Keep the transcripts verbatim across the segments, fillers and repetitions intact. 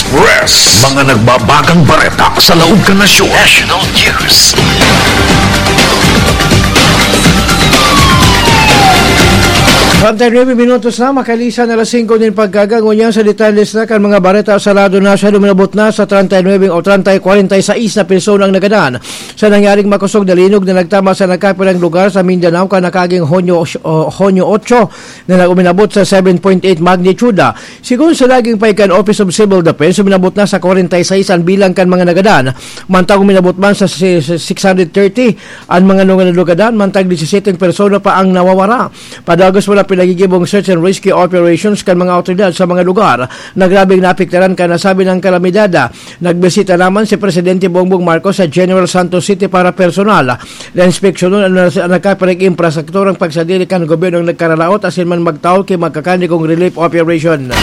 Press. Mga nagbabagang bareta sa laog kan nasyon. National News. Treinta y nueve minutos na, makalisan alas singko nin pagkaga. Ngunyan sa detalles na kan mga bareta sa lado na siya, luminabot na sa treinta y nueve o treinta y kuwarenta y seis na persona ang nagadan sa nangyaring makosog na linog na nagtama sa nagkapirang lugar sa Mindanao kan nakaaging Hunyo, o, Hunyo otso na nag-uminabot sa seven point eight magnitude. Sigon sa naging pahayag kan Office of Civil Defense, uminabot na sa kwarenta y seis an bilang kan mga nagadan. Mantang uminabot man sa si-, sa six hundred thirty an mga nunga-, nalugadan, mantang disisete persona pa ang nawawara. Padagos man ang pinagigibong search and rescue operations kan mga awtoridad sa mga lugar na grabeng naapektaran kan nasabi ng kalamidad. Nagbisita naman si Presidente Bongbong Marcos sa General Santos City para personal na inspeksyonon an nas-, nagkapareng infrastrukturang pagsadiri kan gobyernong nagkaralaot asin man magtaol ki magkakanigong relief operation.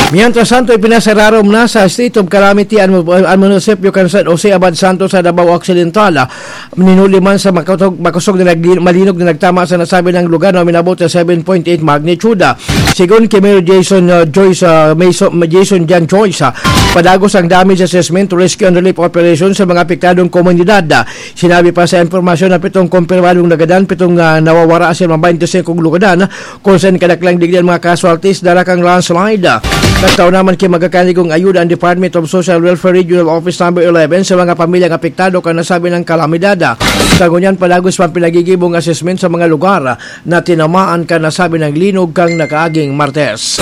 Mientras tanto, ipinasararom na sa state of calamity an, an munisipyo kan San Jose Abad Santos sa Davao Occidental. Ninuli man sa makutog-, makosog na nagli-, malinog na nagtama sa nasabi ng lugar na uminabot sa seven point eight magnitude. Sigon ki Mayor Jason, uh, Joyce, uh, Mason, Jason John Joyce, uh, padagos ang damage assessment, rescue and relief operation sa mga apektadong komunidad. Sinabi pa sa impormasyon na pitong kumpirmadong nagadan, pitong, ah, nawawara asin mga twenty-five lugadan, kung saan kadaklang digdi an mga casualties dala kan landslide. Nagtao naman ki magkakanigong ayuda ang Department of Social Welfare Regional Office Number eleven sa mga pamilyang apektado kan nasabi ng kalamidad. Sa ngunyan, padagos pang pinagigibong assessment sa mga lugar na tinamaan kan nasabi ng linog kan nakaaging Martes.